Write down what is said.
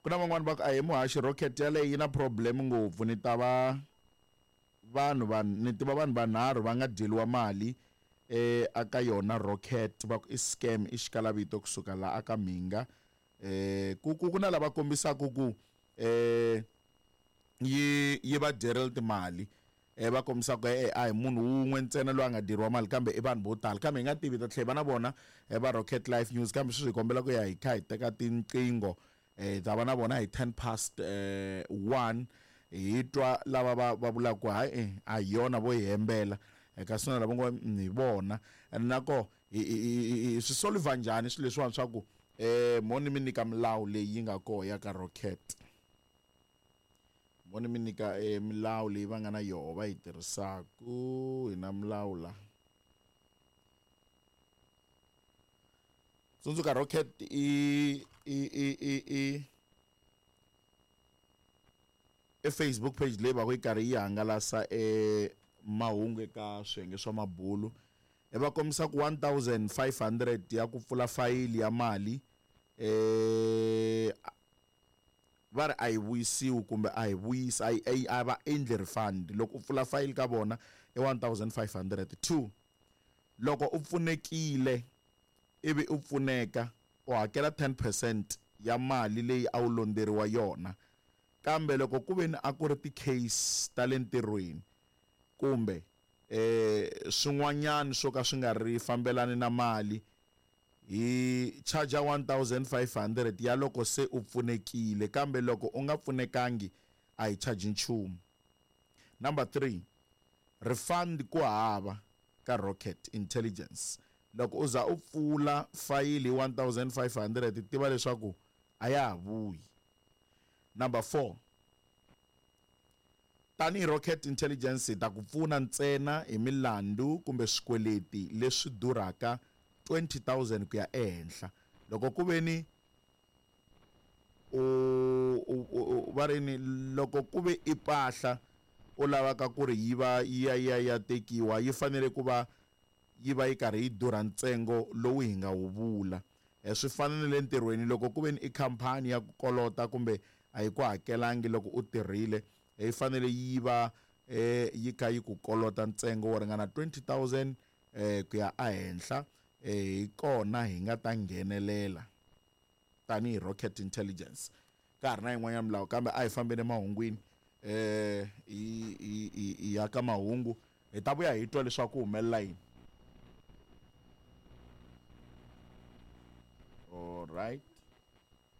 Ku na van'wani va ku a hi muhaxi rocket yaleyo yi na problem ngopfu ni ta va vanhu va ni tiva vanhu vanharhu va nga dyeliwa mali eh aka yona rocket va ku i scam i xikalavito kusuka la aka mhinga eh ku ku ku na lava kombisaka ku eh yi yi va dyerile timali eh va kombisa ku eh a hi munhu wun'we ntsena loyi a nga dyeriwa mali kambe i vanhu vo tala kambe hi nga tivi ta tlhela va na vona eh, va Rocket Life News kambe sweswi hi kombela ku ya hi kha hi teka tinqingho eh ta va na vona hi 10 past eh 1 hi twa lava va va vulaka ku hayi eh, a hi yona vo hi hembela eh, kasi na lava ngo hi vona and nako hi swi solver njhani swilo leswiwani swa ku eh mo ni mi nyika milawu leyi yi nga koho ya ka Rocket mo ni mi nyika e milawu leyi va nga na yoho va yi tirhisaku hi na milawu la tsundzuka rocket i i i i i i Facebook page leyi va ku yi karhi yi hangalasa e mahungu eka swiyenge swa mabulu e va kombisa ku 1500 ya ku pfula fayili ya mali eh va ri a yi vuyisiwi kumbe a hi vuyisi a yi a va endli refund loko u pfula fayili ka vona i 1500 two loko u pfunekile ivi u pfuneka u hakela 10 percent ya mali leyi a wu londzeriwa yona kambe loko ku ve ni a ku ri ti-case ta le ntirhweni kumbe eh swin'wanyana swo ka swi nga ri fambelani na mali hi charger 1500 ya loko se u pfunekile kambe loko u nga pfunekangi a hi charge nchumu number 3 refund ku hava ka rocket intelligence loko u za u pfula fayili hi 1500 tiva leswaku a ya ha vuyi number 4 Tanihi Rocket Intelligence hi ta ku pfuna ntsena hi milandzu kumbe swikweleti leswi durhaka 20000 ku ya ehenhla. Loko ku ve ni u, u, u, va ri ni loko ku ve i mpahla u lavaka ku ri yi va yi ya yi ya ya tekiwa yi fanele ku va yi va yi karhi yi durha ntsengo lowu hi nga wu vula. Swi fana na le ntirhweni loko ku ve ni i khampani ya ku kolota kumbe a yi ku hakelangi loko u tirhile, yi fanele yi va yi kha yi ku kolota ntsengo wo ringana 20000 ku ya ehenhla, hi kona hi nga ta nghenelela tanihi Rocket Intelligence. Ka ha ri na yin'wanyana milawu kambe a hi fambeni emahungwini hi hi hi hi ya ka mahungu hi ta vuya hi twa leswaku ku humelela yini. All right.